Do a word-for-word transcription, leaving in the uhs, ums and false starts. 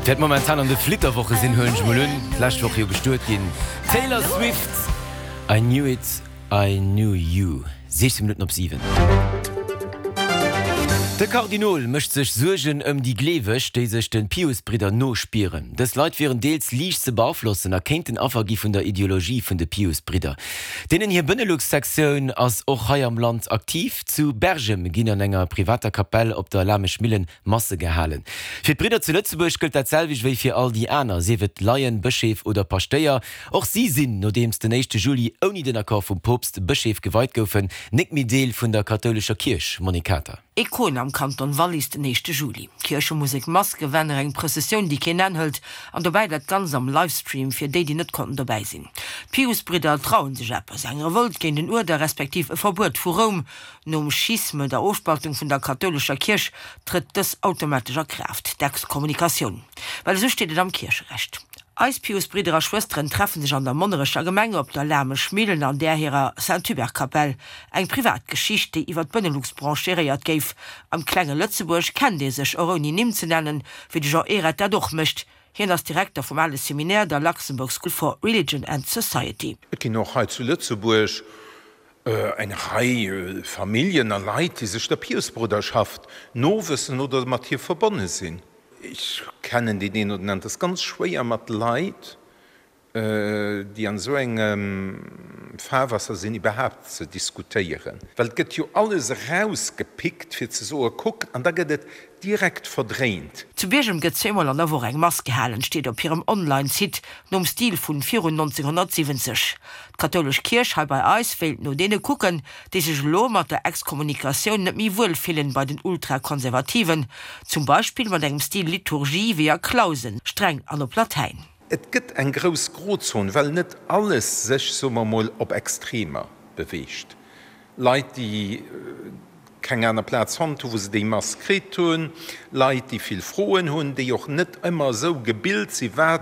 Wäert momentan an de Flitterwoche sinn, huelen ech mol un, d'lescht Woch jo bestuet ginn. Taylor Swift, I Knew It, I Knew You. siechzéng Minutten op siwen. De Kardinol mécht sech Suergen ëm déi Gleeweg, déi sech de Piusbridder no spieren. Dës Leit wieren deels liicht ze beaflossen a kéinten Affer gi vun der Ideologie vun de Piusbridder. Deenen hir Benelux-Sektioun ass och hei am Land aktiv. Zu Bergem ginn an enger privater Kapell op der Lameschmillen Masse gehalen. Fir d'Bridder zu Lëtzebuerg gëllt dat selwecht wéi fir all déi aner, sief et Laien, Bëscheef oder Paschtéier. Och si sinn, nodeems den éischte Juli ouni den Accord vum Poopst Bëscheef geweit goufen, nik méi Deel vun der kathoulescher Kierch. Monique Kater. Écône am Kanton Wallis den éischte Juli. Kierchemusek, Mass, Gewänner, eng Prëssessioun, déi keen Enn hëlt, an dobäi dat Ganzt am Livestream fir déi, déi net konnten dobäi sinn. D'Piusbridder trauen sech eppes, eng Revolt géint den Uerder respektiv e Verbuet vu Roum. Nom Schisme, der Ofspaltung vun der kathoulescher Kierch, trëtt dës automatesch a Kraaft, d'Exkommunikatioun. Well esou steet et am Kiercherecht. Eis Piusbridder a schwësteren treffen sech an der Monnerecher Gemeng op der Lameschmillen an där hirer Saint-Hubert-Kapell. Eng privat Geschicht, déi iwwer d'Benelux-Branche geréiert géif. Am klenge Lëtzebuerg kennt ee sech, och ouni Nimm ze nennen, wéi de Jean Ehret dat och mécht. Hien ass Direkter vum Ale Seminär, der Luxembourg School for Religion and Society. Et ginn och hei zu Lëtzebuerg eng Rei Familljen a Leit, déi sech der Piusbruderschaft nowëssen oder mat hir verbonne sinn. Ech kennen deen een oder den aneren. Et ass ganz schwéier mat Leit, déi an esou engem Fahrwasser sinn, iwwerhaapt ze diskutéieren. Well et gëtt jo alles erausgepickt, fir ze soen, kuck, an da gëtt et direkt verdréint. Zu Biergem gëtt zweemol an der Woch eng Mass gehalen, steet op hirem Online-Site, nom Stil vun virun nonzénghonnertsiwwenzeg. D'kathoulesch Kierch hei bei eis wéilt no deene kucken, déi sech elo mat der Exkommunikatioun net méi wuel fillen, bei den Ultrakonservativen zum Beispill mat engem Stil Liturgie wéi a Clausen, streng an op Latäin. Et gëtt eng grouss Grozon, well net alles sech, soe mer emol, op Extremer beweegt. Leit, déi keng aner Plaz fonnt hunn, wou se déi Mass kritt hunn, Leit, déi vill Froen hunn, déi och net ëmmer esou gebilt si wat